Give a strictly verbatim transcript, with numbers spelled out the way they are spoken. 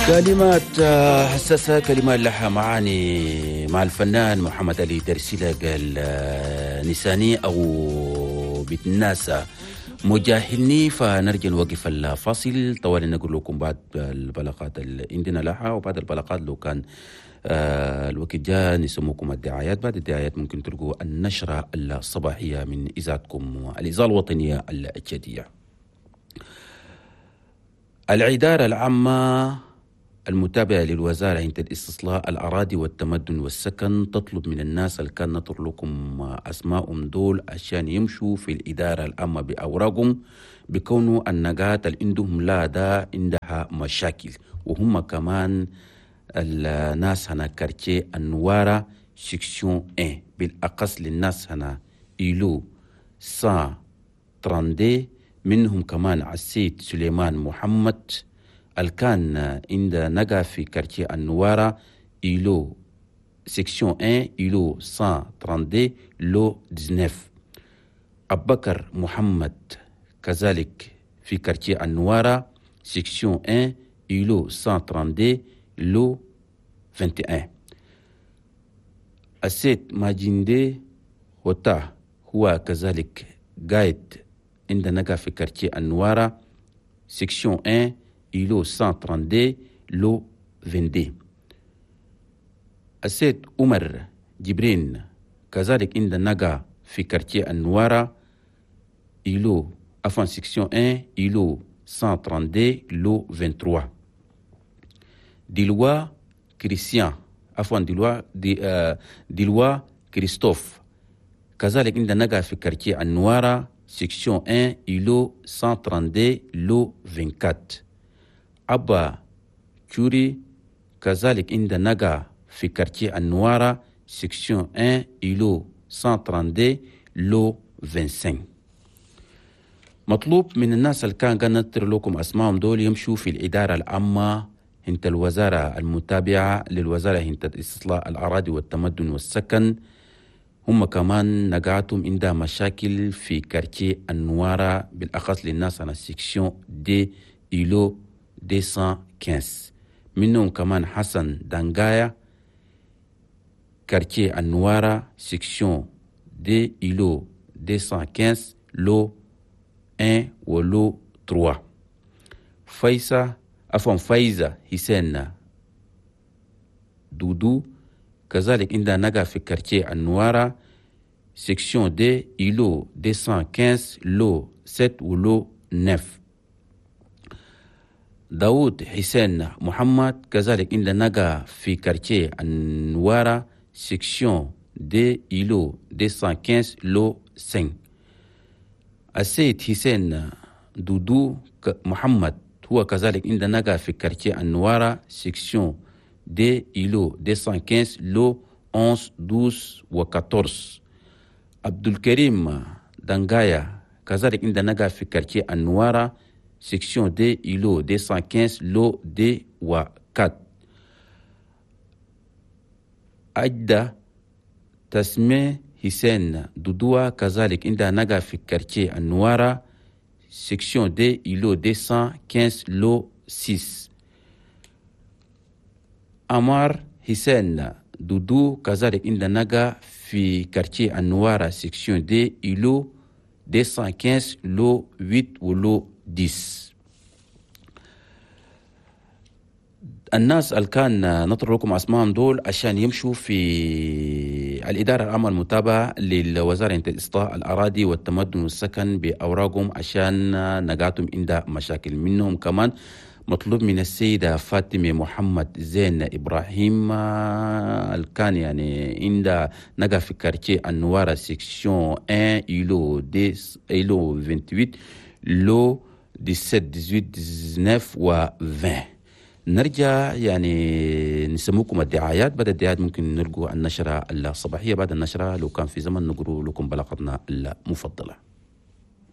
كلمات حساسة، كلمات لها معاني مع الفنان محمد علي درسيلة. قال نساني أو بتناسى مجاهلني. فنرجع نوقف الفاصل طوالي، نقول لكم بعد البلاغات اللي عندنا لها، وبعد البلاغات لو كان آه الوقت جاء نسموكم الدعايات. بعد الدعايات ممكن تلقوا النشرة الصباحية من إذاعتكم الإذاعة الوطنية التشادية. الإدارة العامة المتابعة للوزارة عند الاستصلاح الأراضي والتمدن والسكن تطلب من الناس اللي كان نطر لكم أسماءهم دول عشان يمشوا في الإدارة العامة بأوراقهم، بكونوا النقاط اللي عندهم لا دا عندها مشاكل، وهم كمان الناس هنا quartier النوارة section واحد، بالأقص للناس هنا îlot مية وثلاثة وثلاثين، منهم كمان عسيد سليمان محمد الكان عند نجا في quartier النوارة îlot section واحد îlot مية وثلاثة وثلاثين lot تسعة عشر. أبكر محمد كذلك في quartier النوارة section واحد îlot مية وثلاثة وثلاثين lot واحد وعشرين. السيد ماجندي هوتا هو كذلك قايد عند نجا في quartier النوارة section واحد îlot مية وثلاثة وثلاثين lot اثنين وعشرين. السيد عمر جبرين كذلك عند نجا في quartier النوارة îlot عفوا section واحد îlot مية وثلاثة وثلاثين lot ثلاثة وعشرين. ديلوا كريستيان عفوا ديلوا دي آه ديلوا كريستوف كذلك عند نجا في quartier النوارة section واحد îlot مية وثلاثة وثلاثين lot أربعة وعشرين. أبا تشوري كذلك عند نجا في quartier النوارة section واحد îlot مية وثلاثة وثلاثين lot خمسة وعشرين. مطلوب من الناس اللي كان قنطر لكم أسمائهم دول يمشوا في الإدارة العامة هنت الوزارة المتابعة للوزارة هنت استصلاح الأراضي والتمدن والسكن، هم كمان نقعتهم عندها مشاكل في quartier النوارة بالأخص للناس على section deux îlot مئتين وخمسة عشر، منهم كمان حسن دانغايا quartier النوارة section deux îlot مئتين وخمسة عشر lot واحد و lot ثلاثة. فايزة عفوا فايزة حسين دودو كذلك عندها نجا في quartier النوارة section deux îlot مئتين وخمسة عشر lot سبعة و lot تسعة. داود حسين محمد كذلك عند نجا في quartier النوارة section deux îlot مئتين وخمسة عشر lot خمسة. السيد حسين دودو محمد هو كذلك عند نجا في quartier النوارة section deux îlot مئتين وخمسة عشر lot أحد عشر اثنا عشر و أربعة عشر. عبد الكريم دانغايا كذلك عند نجا في quartier النوارة section deux îlot مئتين وخمسة عشر lot deux و أربعة. أجدى تسمية حسين دودوا كذلك عند نجا في quartier النوارة section deux îlot مئتين وخمسة عشر lot ستة. أمار حسين دودو كذلك عند نجا في quartier النوارة section deux îlot مئتين وخمسة عشر lot ثمانية و lot عشرة. الناس اللي كان نطر لكم اسمائهم دول عشان يمشوا في الإدارة العامة المتابعة للوزارة الإصلاح الأراضي والتمدن والسكن بأوراقهم عشان نقاتهم عند مشاكل. منهم كمان مطلوب من السيدة فاطمة محمد زين إبراهيم الكان يعني عند نقا في quartier النوارة section واحد îlot عشرة îlot ثمانية وعشرين lot سبعة عشر ثمانية عشر تسعة عشر و عشرين. نرجع يعني نسموكم الدعايات. بعد الدعايات ممكن نلقوا النشرة الصباحية. بعد النشرة لو كان في زمن نقروا لكم بلاغتنا المفضلة.